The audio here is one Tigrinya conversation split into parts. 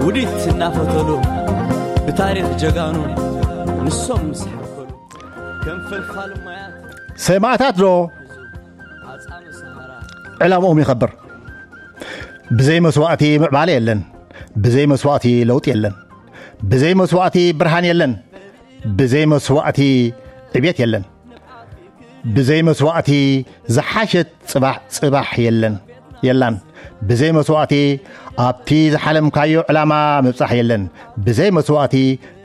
ውዲት እናፈተሉ ብታሪኽ ጀጋኑ ንሶም ምስ ሓከሉ ከም ፈልፋል ማያት ሰማእታት ዶ ኣጻሚ ሰሃራ ዕላምኦም ይኸብር። ብዘይ መስዋእቲ ምዕባለ የለን። ብዘይ መስዋእቲ ለውጥ የለን። ብዘይ መስዋእቲ ብርሃን የለን። ብዘይ መስዋእቲ ዕቤት የለን። ብዘይ መስዋእቲ ዝሓሸት ጽባሕ ጽባሕ የለን የላን። ብዘይ መስዋእቲ ኣብቲ ዝሓለምካዮ ዕላማ ምብጻሕ የለን። ብዘይ መስዋእቲ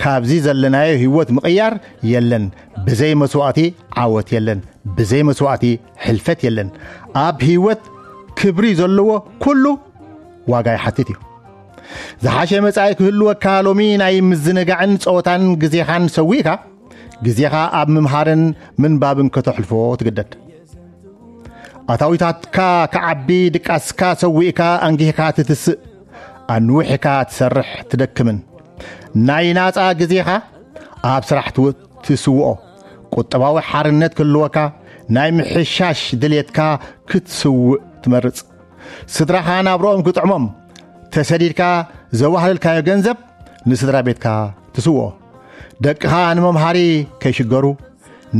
ካብዚ ዘለናዮ ህይወት ምቕያር የለን። ብዘይ መስዋእቲ ዓወት የለን። ብዘይ መስዋእቲ ሕልፈት የለን። ኣብ ህይወት ክብሪ ዘለዎ ኩሉ ዋጋ ይሓትት እዩ። ዝሓሸ መጻኢ ክህልወካ ሎሚ ናይ ምዝንጋዕን ጸወታን ግዜኻን ሰዊእካ፣ ግዜኻ ኣብ ምምሃርን ምንባብን ከተሕልፎ ትግደድ። ኣታዊታትካ ክዓቢ ድቃስካ ሰዊእካ ኣንጊህካ ትትስእ፣ ኣንዊሕካ ትሰርሕ ትደክምን። ናይ ናጻ ግዜኻ ኣብ ስራሕ ትው-፣ ትስውኦ። ቁጠባዊ ሓርነት ክህልወካ ናይ ምሕሻሽ ድሌትካ ክትስውእ ትመርጽ። ስድራኻ ናብርኦም ክጥዕሞም ተሰዲድካ ዘዋህለልካዮ ገንዘብ ንስድራ ቤትካ ትስውኦ። ደቅኻ ንመምሃሪ ከይሽገሩ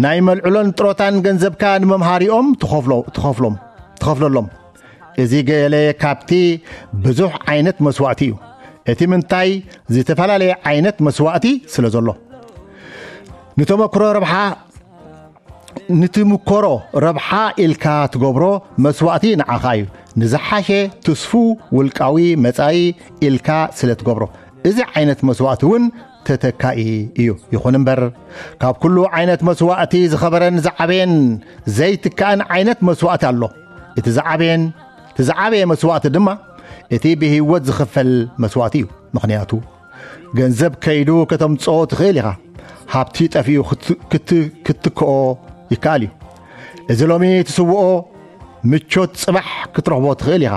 ናይ መልዕሎን ጥሮታን ገንዘብካ ንመምሃሪኦም ትኸፍሎ-፣ ትኸፍሎም፣ ትኸፍለሎም። እዚ ገለ ካብቲ ብዙሕ ዓይነት መስዋእቲ እዩ። እቲ ምንታይ ዝተፈላለየ ዓይነት መስዋእቲ ስለ ዘሎ። ንተመክሮ ረብሓ፣ ንትምኮሮ ረብሓ ኢልካ ትገብሮ መስዋእቲ ንዓኻ እዩ። ንዝሓሸ ትስፉ ውልቃዊ መጻኢ ኢልካ ስለ ትገብሮ፣ እዚ ዓይነት መስዋእቲ እውን ተተካኢ እዩ። ይኹን እምበር፣ ካብ ኩሉ ዓይነት መስዋእቲ ዝኸበረን ዝዓበየን ዘይትካእን ዓይነት መስዋእቲ ኣሎ። እቲ ዝዓበየን፣ እቲ ዝዓበየ መስዋእቲ ድማ እቲ ብህይወት ዝኽፈል መስዋእቲ እዩ። ምኽንያቱ፣ ገንዘብ ከይዱ ከተምጽኦ ትኽእል ኢኻ። ሃብቲ ጠፊኡ ክት-፣ ክት-፣ ክትክኦ ይከኣል እዩ። እዚ ሎሚ ትስውኦ ምቾት ጽባሕ ክትረኽቦ ትኽእል ኢኻ።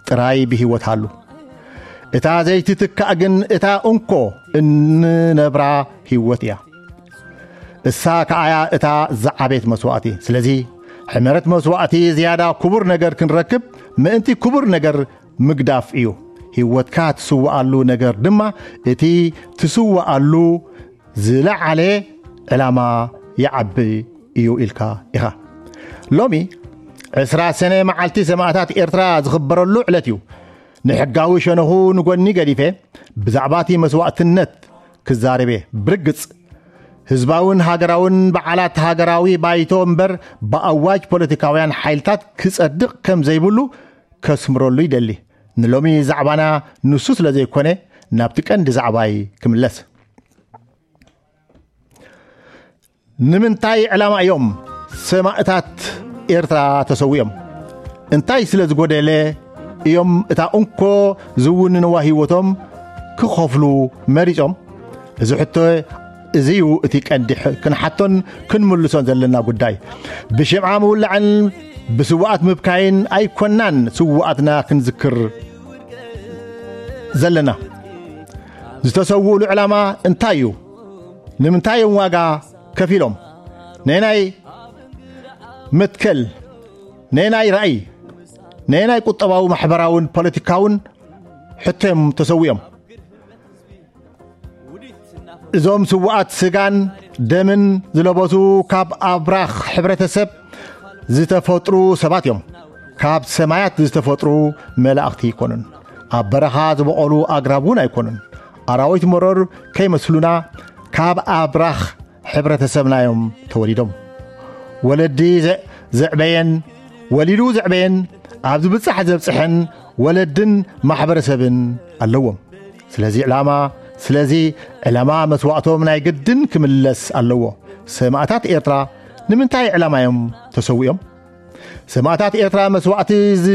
ጥራይ ብህይወት ሃሉ። እታ ዘይትትካእ ግን እታ እንኮ እንነብራ ህይወት እያ። እሳ ከኣያ እታ ዝዓቤት መስዋእቲ። ስለዚ፣ ሕመረት መስዋእቲ ዝያዳ ክቡር ነገር ክንረክብ ምእንቲ ክቡር ነገር ምግዳፍ እዩ። ህይወትካ ትስውኣሉ ነገር ድማ እቲ ትስውኣሉ ዝለዓለ ዕላማ ይዓቢ እዩ ኢልካ ኢኻ። ሎሚ ዕስራ ሰነ መዓልቲ ሰማእታት ኤርትራ ዝኽበረሉ ዕለት እዩ። ንሕጋዊ ሸነኹ ንጎኒ ገዲፈ ብዛዕባ እቲ መስዋእትነት ክዛረብ እየ። ብርግጽ ህዝባውን ሃገራውን በዓላት ሃገራዊ ባይቶ እምበር ብኣዋጅ ፖለቲካውያን ሓይልታት ክጸድቕ ከም ዘይብሉ ከስምረሉ ይደሊ። ንሎሚ ዛዕባና ንሱ ስለ ዘይኮነ ናብቲ ቀንዲ ዛዕባይ ክምለስ። ንምንታይ ዕላማ እዮም ሰማእታት ኤርትራ ተሰዊኦም? እንታይ ስለ ዝጎደለ እዮም እታ እንኮ ዝውንንዋ ህይወቶም ክኸፍሉ መሪጾም? እዚ ሕቶ እዚ እዩ እቲ ቀንዲ ሕ-፣ ክንሓቶን ክንምልሶን ዘለና ጉዳይ። ብሽምዓ ምውላዕን ብስውኣት ምብካይን ኣይኮናን ስውኣትና ክንዝክር ዘለና። ዝተሰውኡሉ ዕላማ እንታይ እዩ? ንምንታይ እዮም ዋጋ ከፊሎም? ነናይ መትከል፣ ነናይ ራእይ፣ ነናይ ቁጠባዊ፣ ማሕበራውን ፖለቲካውን ሕቶ እዮም ተሰዊኦም። እዞም ስውኣት ስጋን ደምን ዝለበሱ ካብ ኣብራኽ ሕብረተሰብ ዝተፈጥሩ ሰባት እዮም። ካብ ሰማያት ዝተፈጥሩ መላእኽቲ ኣይኮኑን። ኣብ በረኻ ዝበቖሉ ኣግራብ እውን ኣይኮኑን። ኣራዊት መሮር ከይመስሉና ካብ ኣብራኽ ሕብረተሰብና እዮም ተወሊዶም። ወለዲ ዘ-፣ ዘዕበየን፣ ወሊዱ ዘዕበየን፣ ኣብ ዝብጻሕ ዘብጽሐን ወለድን ማሕበረሰብን ኣለዎም። ስለዚ ዕላማ፣ ስለዚ ዕላማ መስዋእቶም ናይ ግድን ክምለስ ኣለዎ። ሰማእታት ኤርትራ ንምንታይ ዕላማ እዮም ተሰዊኦም? ሰማእታት ኤርትራ መስዋእቲ ዝ-፣